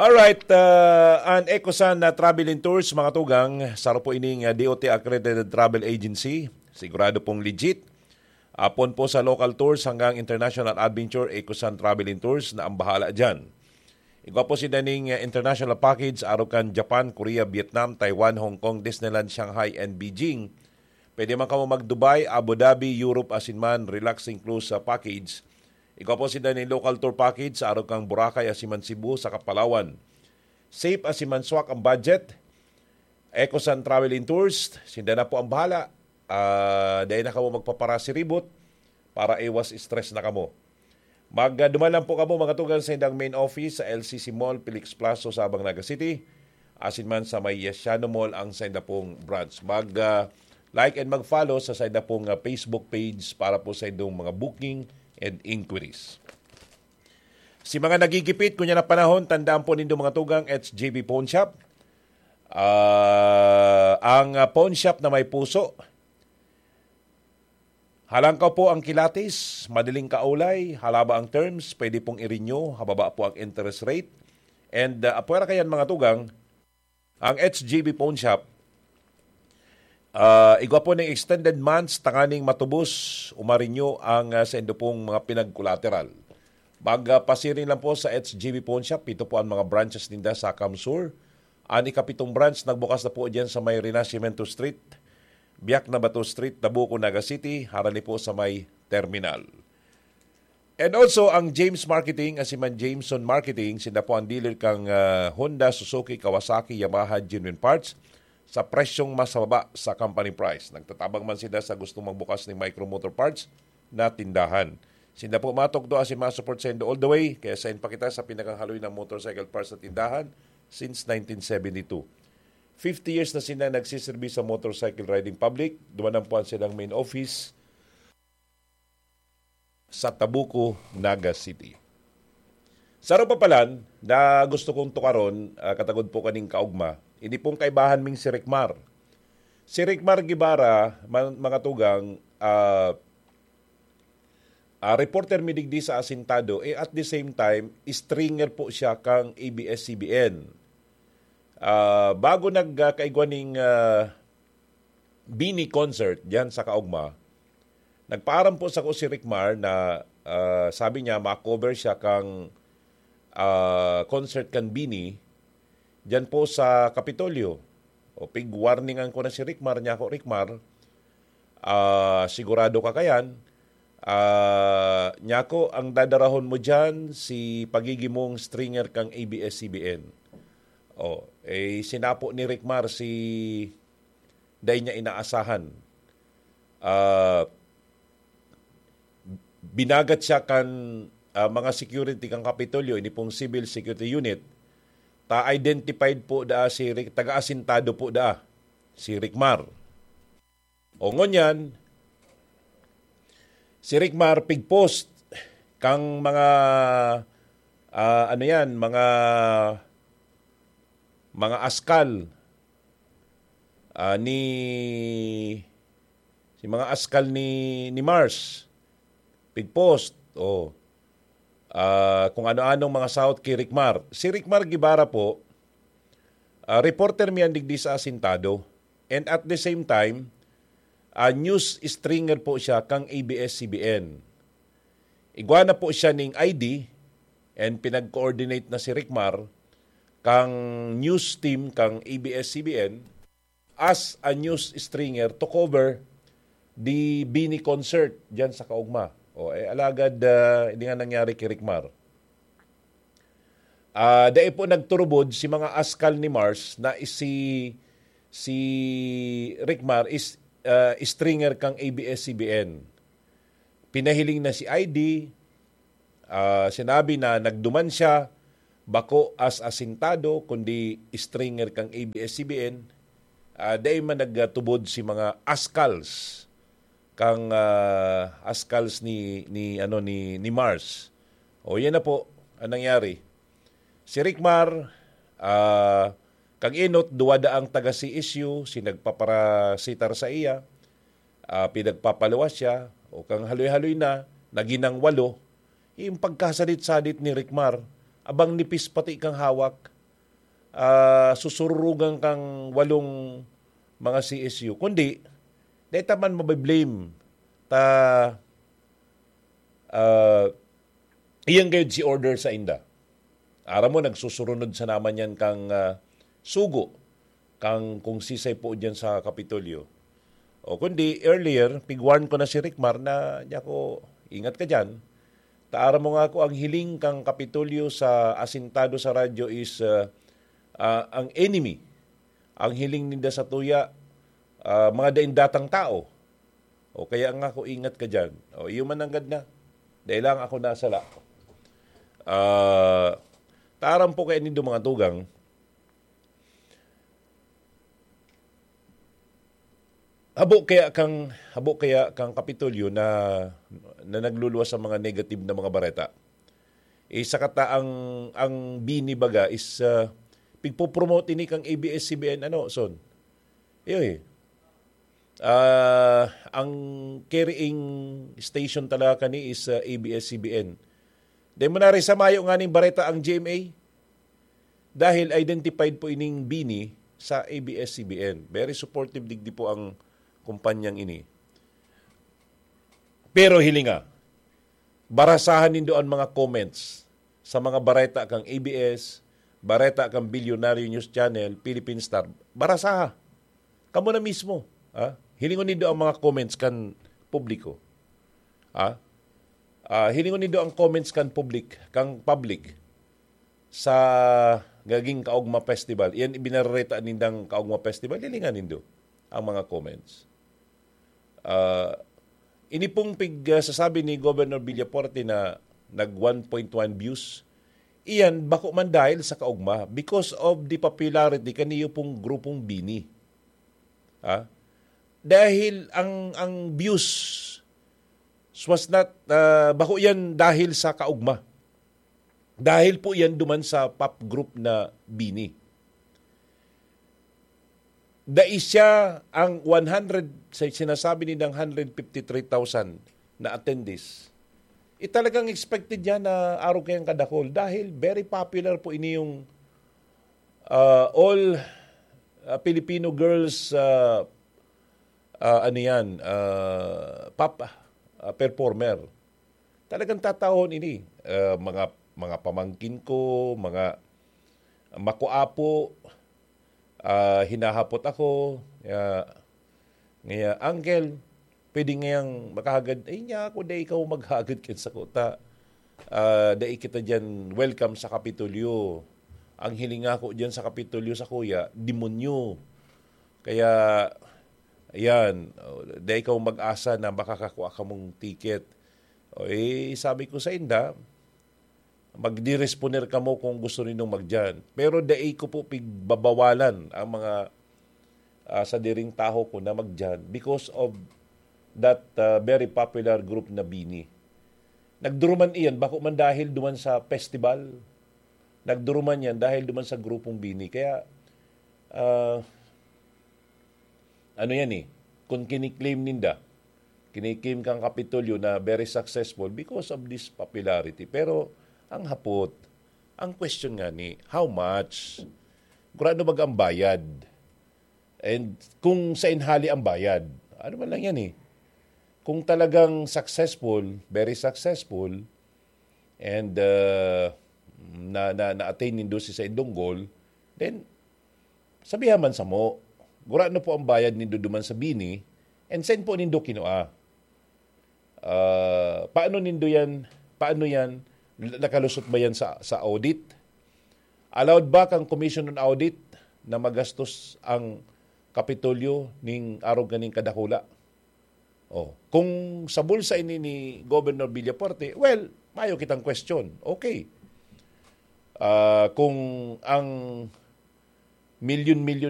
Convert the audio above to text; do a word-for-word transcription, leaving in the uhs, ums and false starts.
Alright, uh, an Ecosan na Travel and Tours, mga tugang, saro po ining uh, D O T accredited travel agency. Sigurado pong legit. Apon po sa local tours hanggang international adventure, Ecosan Travel and Tours na ang bahala dyan. Igwa po si daning uh, international package, aro kan Japan, Korea, Vietnam, Taiwan, Hong Kong, Disneyland, Shanghai, and Beijing. Pwede man kamo mag-Dubai, Abu Dhabi, Europe, asin man, relaxing cruise sa package. Igwa po si daning local tour package, aro kan Boracay, asin man Cebu, sa Kapalawan. Safe asin man swak ang budget. Ecosan Travel and Tours, sinda na po ang bahala. Ah, dahil na kamo magpaparasiribot para iwas stress na kamo. Magduman lang po kamo mga tugang sa indang main office sa L C C Mall, Felix Plaza, Sabang, Naga City. Asin man sa may Yesiano Mall ang sa inda pong branch. Mag ah, like and mag-follow sa sa inda pong ah, Facebook page para po sa indong mga booking and inquiries. Si mga nagigipit, kunya na panahon, tandaan po nindo mga tugang, it's J B Pawn Shop. Ah, ang ah, pawn shop na may puso. Halangkaw po ang kilatis, madaling kaulay, halaba ang terms, pwede pong i-renew, hababa po ang interest rate. And uh, apwera kayan mga tugang, ang H G B Pawn Shop, uh, igwa po ng extended months, tanganing matubos, umarinyo ang uh, sendo pong mga pinag-collateral. Magpasiring lang po sa H G B Pawn Shop. Ito po ang mga branches ninda sa Kamsur. Ang ikapitong branch nagbukas na po dyan sa may Renacimiento Street, Biak na Bato Street, Tabuco, Naga City, harani po sa may terminal. And also, ang James Marketing, asiman Jameson Marketing, sinda po ang dealer kang ah, Honda, Suzuki, Kawasaki, Yamaha, Genuine Parts sa presyong mas mababa sa company price. Nagtatabang man sila sa gustong magbukas ng Micro Motor Parts na tindahan. Sinda po matugdo asin ma-support sa indo all the way, kaya sain pa kita sa pinakahaloy na motorcycle parts na tindahan since nineteen seventy-two. Fifty years na sila nagsiserbi sa motorcycle riding public. Duman ang puan silang main office sa Tabuco, Naga City. Sa Rupapalan, na gusto kong tukaron, ah, katagod po kaning kaugma, ini pong kaibahan ming si Ricmar. Si Ricmar Guevara, man- mga tugang, ah, ah, reporter mi digdi sa Asintado, eh, at the same time, stringer po siya kang A B S C B N. Ah, bago nagkaigwa ning ah, Bini concert diyan sa Kaugma, nagpaaram po sako si Ricmar na ah, sabi niya ma-cover siya kang ah, concert kan Bini diyan po sa Kapitolyo. O pig-warningan ko na si Ricmar, niya ako, "Ricmar, ah, sigurado ka kayan? Ah, niya ako, ang dadarahon mo diyan, si pagiging mong stringer kang A B S C B N." Oh, eh, sinapo ni Ricmar si dai niya inaasahan. Ah, binagat siya kan ah, mga security kan Kapitolyo, ini pong Civil Security Unit, ta identified po daa si Ric, taga-asintado po daa si Ricmar. O ngunyan, si Ricmar pigpost kang mga ah, ano yan, mga mga askal ah, ni si mga askal ni ni Mars pigpost o ah, kung ano-anong mga sahot ki Ricmar. Si Ricmar Guevara po, ah, reporter mi yan digdi sa Asintado. And at the same time, ah, news stringer po siya kang A B S C B N. Igwa na po siya ning I D and pinag-coordinate na si Ricmar kang news team kang A B S C B N as a news stringer to cover the Bini concert diyan sa Kaugma. O, eh, alagad, ah, hindi nga nangyari kay Ricmar. Ah, dai po nagturubod si mga askal ni Mars na si si Ricmar is ah, stringer kang A B S C B N. Pinahiling na si I D, ah, sinabi na nagduman siya, bako as asintado, kundi stringer kang A B S C B N. Ah, dai man nagtubod si mga askals kang ah, askals ni ni ano ni ni Mars. O yan na po ang nangyari. Si Ricmar, ah, kag inot duwa daang taga C S U si nagpaparasitar sa iya, ah, pinagpapaluwas siya, o kang haloy-haloy na, naging nang walo, yung pagkasadit-sadit ni Ricmar, abang nipis pati kang hawak, ah, susururugan kang walong mga C S U. Kundi, dai ta man mabiblame ta, ah, iyan gayud si order sa inda. Aram mo, nagsusurunod sa naman yan kang, ah, sugo, kang kung sisay po dyan sa Kapitolyo. O kundi, earlier, pigwarn ko na si Rickmar na, niya ko, ingat ka dyan. Ta aram mo nga ako, ang hiling kang Kapitolyo sa asintado sa radyo is, ah, ah, ang enemy. Ang hiling ninda sa tuya, ah, mga daing datang tao. O kaya nga ako, ingat ka dyan. O iyo man nanggad na. Dahil lang ako nasala. Ah, taram po kaya nindo mga tugang. Habo kaya kang, habo kaya kang Kapitolyo na, na nagluluwas sa mga negative na mga bareta. Eh, sa kata ang, ang bini baga is, ah, pigpopromote ini kang A B S C B N, ano, son? Iyo eh. Ah, ang carrying station talaga kani is, ah, A B S C B N. Dai mo na rin sa mayo nga ning bareta ang G M A. Dahil identified po ining bini sa A B S C B N. Very supportive digdi po ang kumpanyang ini. Pero hilinga, barasahan nindo ang mga comments sa mga bareta kang A B S, bareta kang Bilyonaryo News Channel, Philippine Star. Barasaha. Kamo na mismo, ha? Hilingon nindo ang mga comments kan publiko. Ha? Ah, hilingon nindo ang comments kan public, kang public sa gaging Kaugma Festival. Iyan ibinarareta nindang Kaugma Festival. Hilingan nindo ang mga comments. Ah, ini pong pig, ah, sasabi ni Governor Villafuerte na nag one point one views, iyan bako man dahil sa Kaugma because of the popularity kaniyo pong grupong bini. Ha? Dahil ang, ang views was not, ah, bako yan dahil sa Kaugma. Dahil po yan duman sa pop group na bini. Dai siya ang one hundred, sa sinasabi nindang hundred fifty-three thousand na attendees. Eh, talagang expected yan na arog kayang kadakol dahil very popular po ini yung, ah, all, ah, Filipino girls, ah, ah, ano yan, ah, pop, ah, performer. Talagang tatahon ini. Ah, mga, mga pamangkin ko, mga makuapo, ah, hinahapot ako. Ah, ngaya, "Uncle, pwede ngayang makahagad?" "Ay, niya ako, dai ikaw maghagad kan sako ta. Ah, dai kita dyan welcome sa Kapitolyo. Ang hiling ako dyan sa Kapitolyo sa kuya, demonyo. Kaya, ayan, oh, dai ikaw mag-asa na makakakua kamong ticket." O, eh, sabi ko sa inda, "Magdiresponer kamo kung gusto nindong magdiyan. Pero dai ko po pigbabawalan ang mga, ah, sadiring taho ko na magdiyan because of that, ah, very popular group na bini." Nagduruman iyan, bako man dahil duman sa festival. Nagduruman yan dahil duman sa grupong bini. Kaya, ah, ano yan eh, kung kiniklaim ninda, kiniklaim kang Kapitolyo na very successful because of this popularity. Pero, ang hapot, ang question nga ni, how much? Gurano baga ang bayad? And kung sa inhali ang bayad, ano man lang yan eh. Kung talagang successful, very successful, and, uh, na, na, na-attain nindo si saindong goal, then, sabihan man samo, gurano po ang bayad nindo duman sa bini, and saan po nindo kinua? Ah, paano nindo yan, paano yan, nakalusot ba yan sa, sa audit? Allowed ba kang Commission on Audit na magastos ang Kapitolyo ning arog kaning kadakula? Oh, kung sa bulsa ini ni Governor Villafuerte, well, mayo kitang question. Okay. Ah, kung ang milyon-milyon